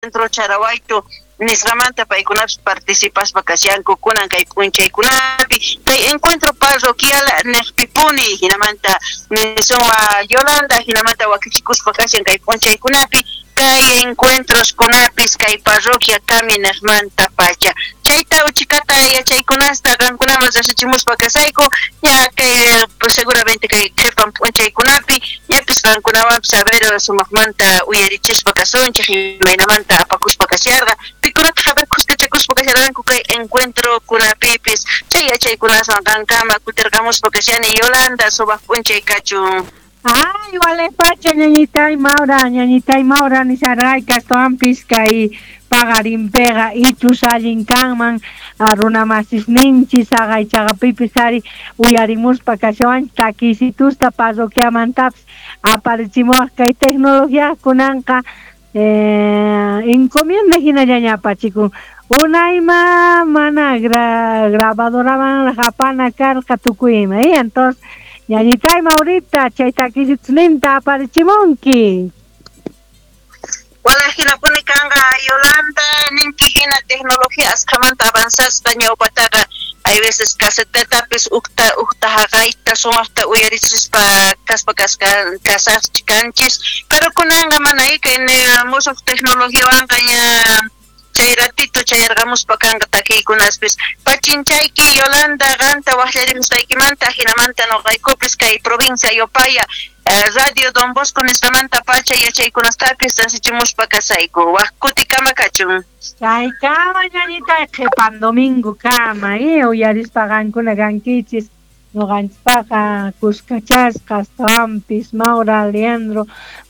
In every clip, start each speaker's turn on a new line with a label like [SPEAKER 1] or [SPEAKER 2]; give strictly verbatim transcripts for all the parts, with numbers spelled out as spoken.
[SPEAKER 1] Leandro Charahuayto nisqamanta paykunapis participaspa kashanku kunan kay p'unchaykunapi kay encuentro parroquial neqpipuni hinamanta nisuma Yolanda hinamanta wakichikuspa kashan kay p'unchaykunapi kay encuentros kunapis kay parroquia kami neqmanta pacha chayta uchikata yachaykunasta qankunaman riqsichimuspa kasayku ya kay pues seguramente kay qhipan p'unchaykunapi ñapis qankunawanpis a ver sumaqmanta uyarichispa kasunchik imaynamanta apakuspa kasharqa pikunataq a ver kuskachakuspa kasharqanku kay encuentro kunapipis chay yachaykunaswan qankama kutirqamuspa kashani Yolanda sumaq p'unchay kachun.
[SPEAKER 2] Ay, wale pacha, ñañitay Maura, ñañitay Maura, nisarayka astawanpis kay paqarinpiqa ichus allin kanman runamasis ninchis haqaychaqapipis ari uyarimuspa kashawanchik takisitusta parroquiamantapis aparichimuwaq kay tecnología kunanqa eh, encomienda hinallaña apachikun unayma mana gra grabadoramanraq apana karqa tukuy ima y entonces ñañitay Maurita chay takisitusninta aparichimunki.
[SPEAKER 1] Wala hinapuni kanqa Yolanda ninki hina tecnología asqhamanta avanzasqa ñawpataqa hay veces casetetapis ukta ukta haqayta sumaqta uyarichispa kaspa kasqa kasachkanchis pero kunanqa mana kay musuq tecnologiawanqa ña chay ratito chayarqamuspa kanqa takiykunaspis pachinchayki Yolanda qanta waqllarimusqaykimanta hinamanta nuqaykupis kay provincia Yopaya Radio Don Bosco nisqamanta pacha yachaykunastapis rasichimuspa kasayku waq kutikama kachun.
[SPEAKER 2] Chaykama ñañitay qhipan domingo kama eh uyarispa qankuna kankichis ñuqanchikpaqa kuskachasqa astawanpis Maura Leandro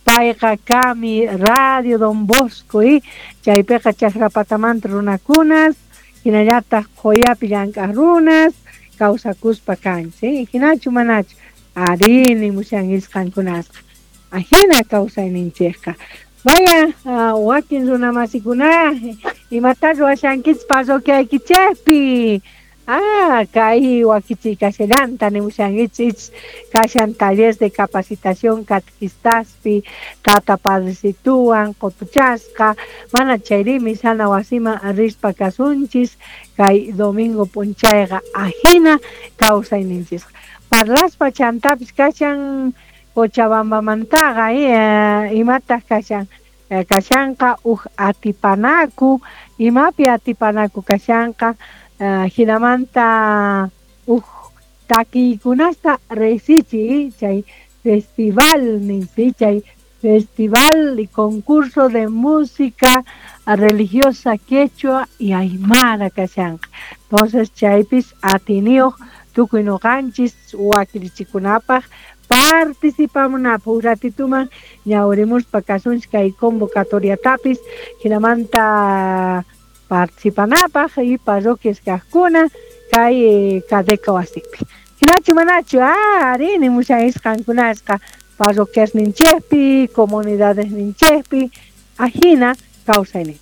[SPEAKER 2] payqa kami Radio Don Bosco y chaypiqa chakrapatamanta runakunas hinallataq qhuyapi llank'aq runas kawsakuspa kanchik hinachu manachu ari nimushankichis qankunasqa ajina kawsayninchikqa vaya wakin runamasikuna imata ruwashankichis parroquiaykichikpi ah kay wakichiykashallanta nimushankichis kashan taller de capacitación catequistaspi tata padrecituwan qutuchasqa mana chayri misana wasiman rispa kasunchis kay domingo p'unchayqa ajina kawsayninchisqa parlaspa chantapis kashan Cochabambamantaqa eh, imataq kashan kashanqa uj atipanaku imapi atipanaku kashanqa hinamanta uj takiykunasta risichi chay festival ninsi chay festival y concurso de música religiosa quechua y aymara kashanqa entonces chaypis atiniyuq tukuy ñuqanchis wakirichikunapaq participamunapaq uj ratituman ñawrimuspa kasunchik kay convocatoriatapis hinamanta participanapaq y parroquias kaqkuna kay Cadeca wasipi hinachu manachu ah ari nimushankichis qankunasqa parroquias ninchikpi comunidades ninchikpi ajina kawsayninchik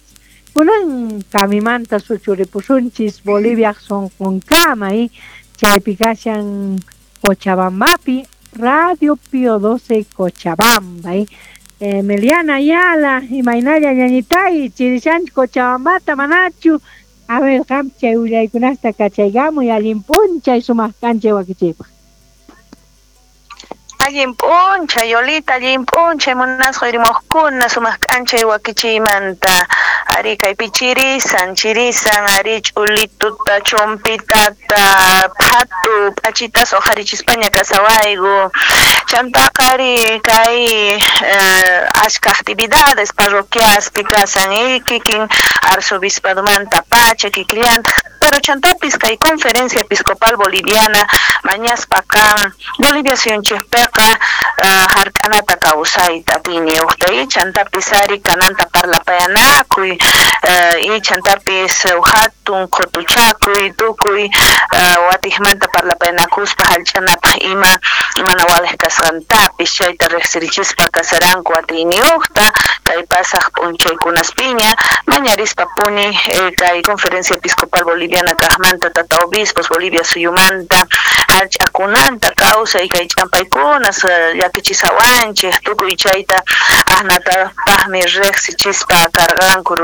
[SPEAKER 2] kunan kamimanta suchuripusunchis Boliviaq sunqunkama y chaypi kashan Cochabambapi Radio Pío doce Cochabamba y eh, Meliana Ayala imaynalla ñañitay chirishanchik Cochabambata manachu a ver qam chay willaykunasta kachaykamuy allin p'unchay sumaq k'anchay wakichiypaq.
[SPEAKER 3] Allin p'unchay Yolita, allin p'unchay munasqa yurimuqkuna sumaq k'anchay wakichiymanta ari kaypi chirisan chirisan ari ch'ulituta chumpitata phatu p'achitas uqharichispaña kasawayku chantaqa ari kay ashka actividades parroquiaspi kasan y kikin arzobispadomanta pacha kikillantaq pero chantapis kay Conferencia Episcopal Boliviana mañaspa kan Bolivia suyunchikpiqa hark'anata kawsayta atiyniyuqta y chantapis ari kananta parlapayanakuy y chantapis hatun qutuchakuy tukuy watiqmanta parlapayanakuspa hallch'anapaq ima mana waliq kasqantapis chayta riqsirichispa kasaranku atiyniyuqta kay pasaq p'unchaykunaspiña mañarispapuni kay Conferencia Episcopal Boliviana kaqmanta tata obispos Bolivia suyumanta hallch'akunanta kawsay kay ch'ampaykunas llakichisawanchik tukuy chayta aqnatapaqmi riqsichispa karqanku.